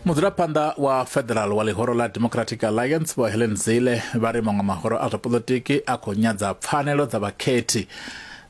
Mudzulaphanḓa wa Federal wa ḽihoro ḽa Democratic Alliance Vho Helen Zille vha ri maṅwe mahoro a zwa poḽotiki a khou nyadza pfanelo dza vhakhethi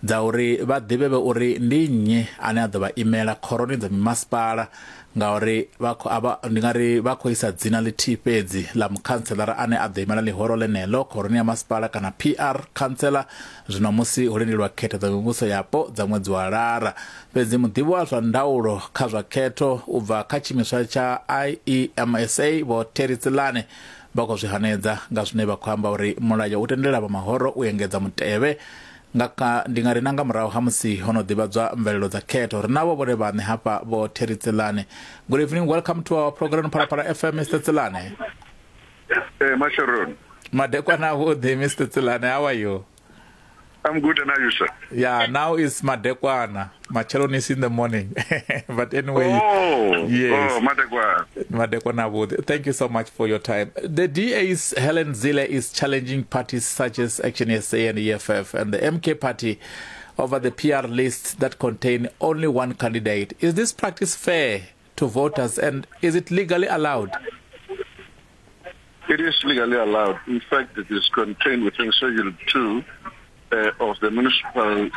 dza uri vha ḓivhevhe uri ndi nnyi ane a ḓo vha imela khoroni dza mimasipala ngauri vha khou avha ndi nga ri vha khou isa dzina ḽithihi fhedzi ḽa mukhantselara ane a ḓo imela ḽihoro ḽeneḽo khoroni ya masipala kana PR khantsela zwino musi ho lindelwa khetho dza mivhuso yapo dza ṅwedzi wa Lara. Fhedzi muḓivhi wa zwa ndaulo kha zwa khetho u bva kha tshiimiswa tsha IEMSA Vho Terry Tselane vha khou zwi hanedza nga zwine vha khou amba uri mulayo u tendela vha mahoro u engedza mutevhe nga kha ndi nga ri na nga murahu ha musi ho no ḓivhadzwa mvelelo dza khetho. Ri navho vhone vhaṋe hafha Vho Terry Tselane. Good evening, welcome to our program Phalaphala FM, Mr Tselane. Hey, Masharon. Madekwana avhuḓi Mr Tselane, how are you? I'm good, and are you, sir? Yeah, now it's Madekwana. Machelon is in the morning. But anyway, oh, yes. Oh, Madekwana. Madekwana avhuḓi. Thank you so much for your time. The DA's Helen Zille is challenging parties such as Action SA and EFF and the MK party over the PR lists that contain only one candidate. Is this practice fair to voters and is it legally allowed? It is legally allowed. In fact, it is contained within Schedule 2 of the Municipal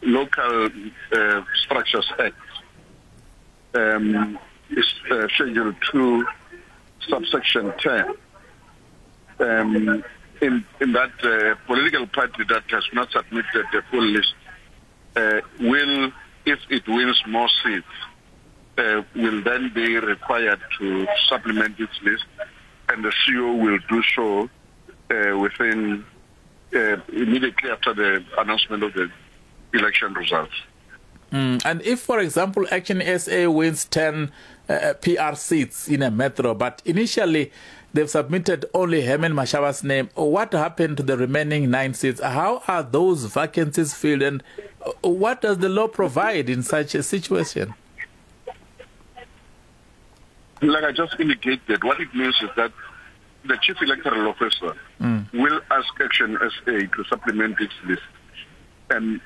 Local Structures Act. It's Schedule 2, subsection 10. In that political party that has not submitted the full list will, if it wins more seats, will then be required to supplement its list, and the CEO will do so within immediately after the announcement of the election results. And if, for example, Action SA wins 10 PR seats in a metro, but initially they've submitted only Herman Mashaba's name, what happened to the remaining 9 seats? How are those vacancies filled, and what does the law provide in such a situation? Like I just indicated, what it means is that the Chief Electoral Officer will ask Action SA to supplement its list. And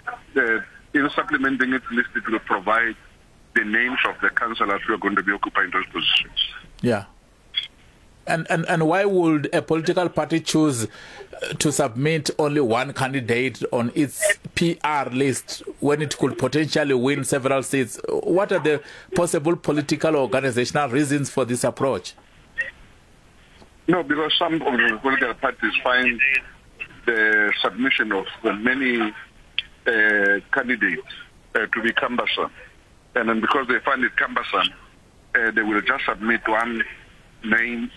in supplementing its list, it will provide the names of the councillors who are going to be occupying those positions. Yeah. And why would a political party choose to submit only one candidate on its PR list when it could potentially win several seats? What are the possible political or organizational reasons for this approach? No, because some of the political parties find the submission of the many candidates to be cumbersome. And then because they find it cumbersome, they will just submit one name